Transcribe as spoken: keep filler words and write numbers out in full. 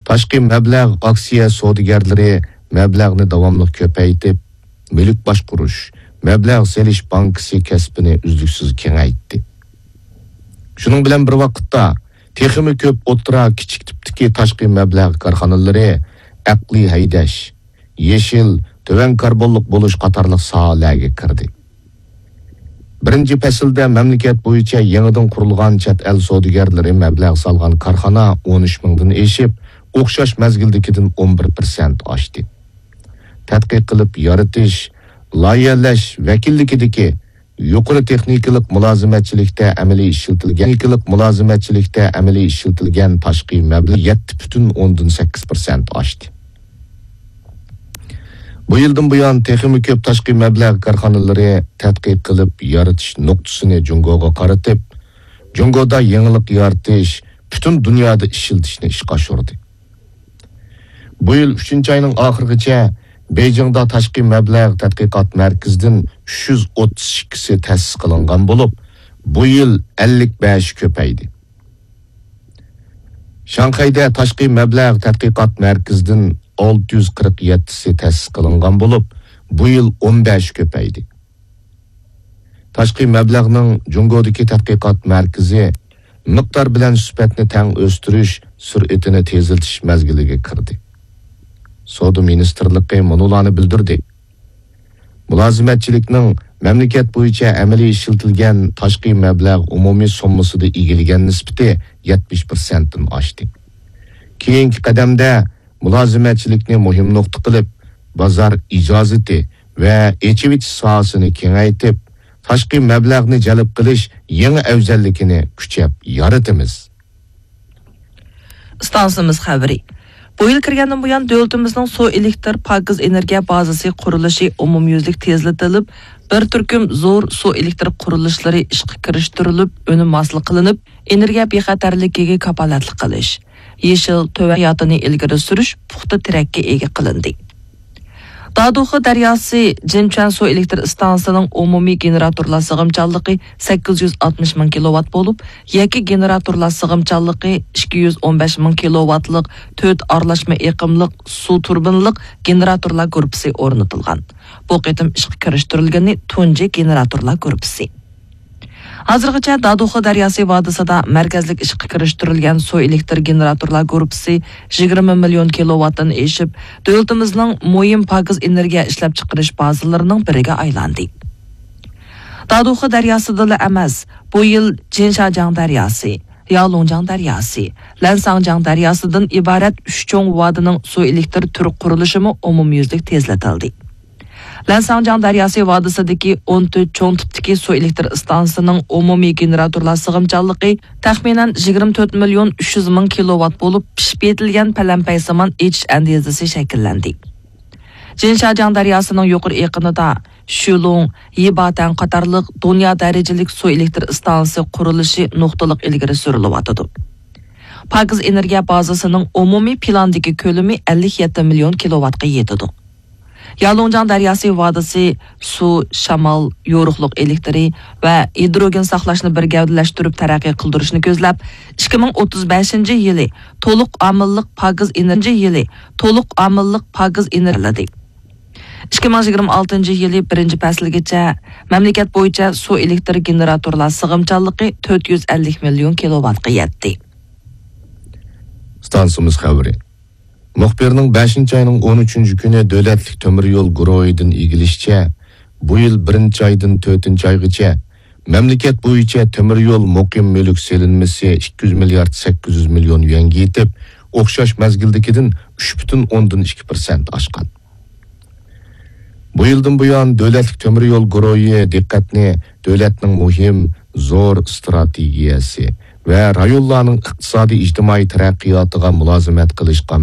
تاشقى مەبلەغ ئاكسىيە سودىگەرلىرى مەبلەغنى داۋاملىق كۆپەيتىپ، مۈلۈك باشقۇرۇش، مەبلەغ سېلىش بانكىسى كەسپىنى ئۈزلۈكسىز كېڭەيتتى. شۇنىڭ بىلەن بىر ۋاقىتتا، تېخىمۇ كۆپ ئوتتۇرا، كىچىك تىپتىكى تاشقى مەبلەغ كارخانىلىرى ئەقلىي ھەيدەش، يېشىل، تۆۋەن كاربونلۇق بولۇش قاتارلىق ساھەلەرگە كىردى. بىرىنچى پەسىلدە مەملىكەت بويىچە يېڭىدىن قۇرۇلغان چەت ئەل سودىگەرلىرى مەبلەغ سالغان كارخانا ئون ئۈچ مىڭدىن ئېشىپ، ئوخشاش مەزگىلدىكىدىن ئون بىر پىرسەنت ئاشتى. تەتقىق قىلىپ يارىتىش، لايىھەلەش ۋەكىللىكىدىكى يۇقىرى تېخنىكىلىق مۇلازىمەتچىلىكتە ئەمەلىي ئىشلىتىلگەن، تېخنىكىلىق مۇلازىمەتچىلىكتە ئەمەلىي ئىشلىتىلگەن تاشقى مەبلەغ يەتتە پۈتۈن ئوندىن سەككىز پىرسەنت ئاشتى. بۇ يىلدىن بۇيان، تېخىمۇ كۆپ تاشقى مەبلەغ كارخانىلىرى تەتقىق قىلىپ يارىتىش نۇقتىسىنى جۇڭگوغا قارىتىپ، جۇڭگودا يېڭىلىق يارىتىش، پۈتۈن دۇنيادا ئىشلىتىشنى ئىشقا ئاشۇردى. بۇ يىل ئۈچىنچى ئاينىڭ ئاخىرىغىچە بېيجىڭدا تاشقى مەبلەغ تەتقىقات مەركىزىدىن ئۈچ يۈز ئوتتۇز ئىككىسى تەسىس قىلىنغان بولۇپ، بۇ يىل ئەللىك بەش كۆپەيدى. شاڭخەيدە تاشقى مەبلەغ تەتقىقات مەركىزىدىن ئالتە يۈز قىرىق يەتتىسى تەسىس قىلىنغان بولۇپ، بۇ يىل ئون بەش كۆپەيدى. تاشقى مەبلەغنىڭ جۇڭگودىكى تەتقىقات مەركىزى مىقدار بىلەن سۈپەتنى تەڭ ئۆستۈرۈش سۈرئىتىنى تېزلىتىش مەزگىلىگە كىردى. سودا مىنىستىرلىقى مۇنۇلارنى بىلدۈردى: مۇلازىمەتچىلىكنىڭ مەملىكەت بويىچە ئەمەلىي ئىشلىتىلگەن تاشقى مەبلەغ ئومۇمىي سوممىسىدا ئىگىلىگەن نىسبىتى يەتمىش پىرسەنتتىن ئاشتى. كېيىنكى قەدەمدە مۇلازىمەتچىلىكنى مۇھىم نۇقتا قىلىپ، بازار ئىجازىتى ۋە ئېچىۋېتىش ساھەسىنى كېڭەيتىپ، تاشقى مەبلەغنى جەلپ قىلىش يېڭى ئەۋزەللىكىنى كۈچەپ يارىتىمىز. ئىستانسىمىز خەۋىرى. بۇ يىل كىرگەندىن بۇيان، دۆلىتىمىزنىڭ سۇ ئېلېكتىر پاكىز ئېنېرگىيە بازىسى قۇرۇلۇشى ئومۇميۈزلۈك تېزلىتىلىپ، بىر تۈركۈم زور سۇ ئېلېكتىر قۇرۇلۇشلىرى ئىشقا كىرىشتۈرۈلۈپ، ئۈنۈم ھاسىل قىلىنىپ، ئېنېرگىيە بىخەتەرلىكىگە كاپالەتلىك قىلىش، يېشىل تۆۋەن تەرەققىياتىنى ئىلگىرى سۈرۈش پۇختا تىرەككە ئىگە قىلىندى. دادۇخا دەرياسى جىنچۈەن سۇ ئېلېكتىر ئىستانسىسىنىڭ ئومۇمىي گېنېراتورلار سىغىمچانلىقى سەككىز يۈز ئاتمىش مىڭ كىلوۋات بولۇپ، يەككە گېنېراتورلار سىغىمچانلىقى ئىككى يۈز ئون بەش مىڭ كىلوۋاتلىق تۆت ئارىلاشما ئېقىملىق سۇ تۇربىنىلىق گېنېراتورلار گۇرۇپپىسى ئورنىتىلغان. بۇ قېتىم ئىشقا كىرىشتۈرۈلگىنى تۇنجى گېنېراتورلار گۇرۇپپىسى. ھازىرغىچە دادۇخا دەرياسى ۋادىسىدا مەركەزلىك ئىشقا كىرىشتۈرۈلگەن سۇ ئېلېكتىر گېنېراتورلار گۇرۇپپىسى يىگىرمە مىليون كىلوۋاتتىن ئېشىپ، دۆلىتىمىزنىڭ مۇھىم پاكىز ئېنېرگىيە ئىشلەپچىقىرىش بازىلىرىنىڭ بىرىگە ئايلاندى. دادۇخا دەرياسىدىلا ئەمەس، بۇ يىل جىنشاجياڭ دەرياسى، يالۇڭجياڭ دەرياسى، لەنساڭجياڭ دەرياسىدىن ئىبارەت ئۈچ چوڭ ۋادىنىڭ سۇ ئېلېكتىر تۈر قۇرۇلۇشىمۇ ئومۇميۈزلۈك تېزلىتىلدى. لەنساڭجياڭ دەرياسى ۋادىسىدىكى ئون تۆت چوڭ تىپتىكى سۇ ئېلېكتىر ئىستانسىسىنىڭ ئومۇمىي گېنېراتورلار سىغىمچانلىقى تەخمىنەن يىگىرمە تۆت مىليون ئۈچ يۈز مىڭ كىلوۋات بولۇپ، پىشىپ يېتىلگەن پەلەمپەيسىمان ئېچىش ئەندىزىسى شەكىللەندى. جىنشاجياڭ دەرياسىنىڭ يۇقىرى ئېقىنىدا شۈلۇڭ، يىباتەن قاتارلىق دۇنيا دەرىجىلىك سۇ ئېلېكتىر ئىستانسىسى قۇرۇلۇشى نۇقتىلىق ئىلگىرى سۈرۈلۈۋاتىدۇ. پاكىز ئېنېرگىيە بازىسىنىڭ ئومۇمىي پىلاندىكى كۆلىمى ئەللىك يەتتە مىليون كىلوۋاتقا يېتىدۇ. يالۇڭجياڭ دەرياسى ۋادىسى سۇ، شامال، يورۇقلۇق ئېلېكتىرى ۋە ھىدروگېن ساقلاشنى بىر گەۋدىلەشتۈرۈپ تەرەققىي قىلدۇرۇشنى كۆزلەپ، ئىككى مىڭ ئوتتۇز بەشىنچى يىلى تولۇق ئامىللىق پاكىز ئېنېرگىيە يىلى، تولۇق ئامىللىق پاكىز ئېنېرگىيە ئىككى مىڭ يىگىرمە ئالتىنچى يىلى بىرىنچى پەسىلگىچە مەملىكەت بويىچە سۇ ئېلېكتىر گېنېراتورلار سىغىمچانلىقى تۆت يۈز ئەللىك مىليون كىلوۋاتقا يەتتى. ئىستانسىمىز خەۋىرى. مۇخبىرنىڭ بەشىنچى ئاينىڭ ئون ئۈچىنچى كۈنى دۆلەتلىك تۆمۈر يول گۇرۇھىدىن ئىگىلىشىچە، بۇ يىل بىرىنچى ئايدىن تۆتىنچى ئايغىچە مەملىكەت بويىچە تۆمۈر يول مۇقىم مۈلۈك سېلىنمىسى ئىككى يۈز مىليارد سەككىز يۈز مىليون يۈەنگە يېتىپ، ئوخشاش مەزگىلدىكىدىن ئۈچ پۈتۈن ئوندىن ئىككى پىرسەنت ئاشقان. بۇ يىلدىن بۇيان، دۆلەتلىك تۆمۈر يول گۇرۇھى دىققەتنى دۆلەتنىڭ مۇھىم، زور ئىستراتېگىيەسى ۋە رايونلارنىڭ ئىقتىسادىي ئىجتىمائىي تەرەققىياتىغا مۇلازىمەت قىلىشقا